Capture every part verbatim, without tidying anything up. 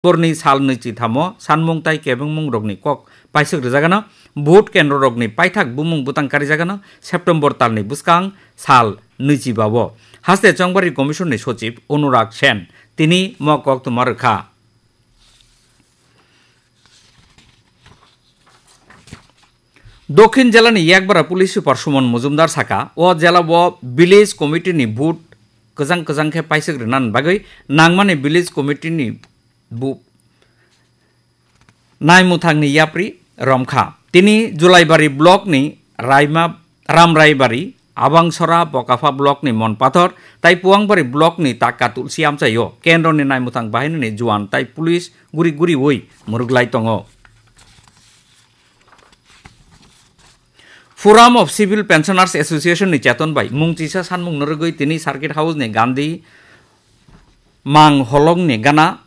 Borni sal nwichi thamo sanmung tai kebengmung rokni kok paisuk rwjagano, vote kendro rokni paithak bumung bwtang karijagano September talni bwskang sal nwichi bao. Haste Chongbari Commission ni Sochib Anurag Sen tini mo koktwma rwkha. Dokhin jelani Yakbara Police Super Suman Mujumdar saka, o jela o Village Committee ni vote kwchang kwchang khe paisuk rwna bagwi nangmani Village Committee ni bu-, Naimuthangni yapri romkha. Tini Julaibari block ni Raima, Ramraibari, Abangsora, Bokapha block ni Monpathor, tai Puangbari block ni Takka Tulsi amchaio kendro ni naimuthang bahini ni juan tai police guri guriwi muruglai tongo. Forum of Civil Pensioners Association ni cheton bai mung chisa sanmung norogwi tini Circuit House ni Gandhi Mang holong ni gana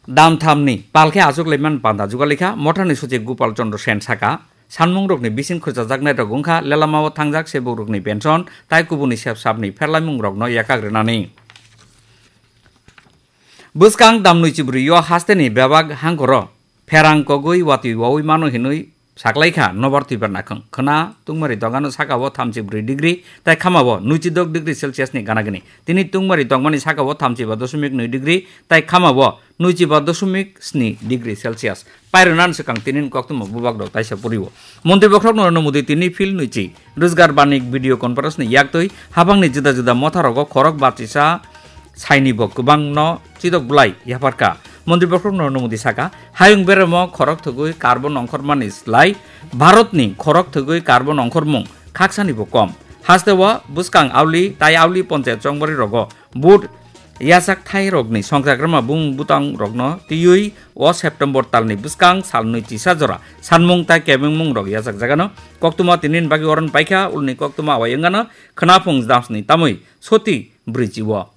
damtham ni palkhe achuk laiman panda jugalikha. Mothani Sochib Gopal Chandra Sen saka, sanmung rokni bising khurchajaknai rok wngkha lelamao thangjak sebuk rokni pension tai kubuni sep sapni pherlaimung rokno yakak rwnani. Bwskang damnwi chibrwi o hasteni bebak hangkoro pherang kogwi watwi wawi mano hinwi saklaikha nobar twibar nakhwng. Khwna tungmari dogano sakao thamchi brwi degree tai khamao nwichi dok degree Celsius ni gana gini. Tini tungmari dogmani sakao thamchi ba dosmik nwi degree tai khamao nwichi ba dosmik sni degree Celsius. Pairwnan swkang tinin koktwma bubak rok taisa puriwo. Montri bokhorok Narendra Modi tini field nwichi Rojgar Banik video conference ni yaktwi habangni juda juda motharogo khorok bachisa saini bo kwbangno chidok bwlai yapharkha. Montri bokhorok Narendra Modi saka, hayung beremo khorok thwgwi carbon ongkhormani slai Bharatni khorok thwgwi carbon ongkhormung khaksani bo kom. Hasteo bwskang auli tai auli ponchayat chongbari rogo vote yachak thai rokni songchakrama bumung bwtang rokno twiwi o September talni bwskang salnwi chisa jora sanmung tai kebengmung rok yachak jagano koktwma tinin bagwi oron paikha. Ulni koktwma awai wngano khwnaphung damsni tamwi soti brwi chiwo.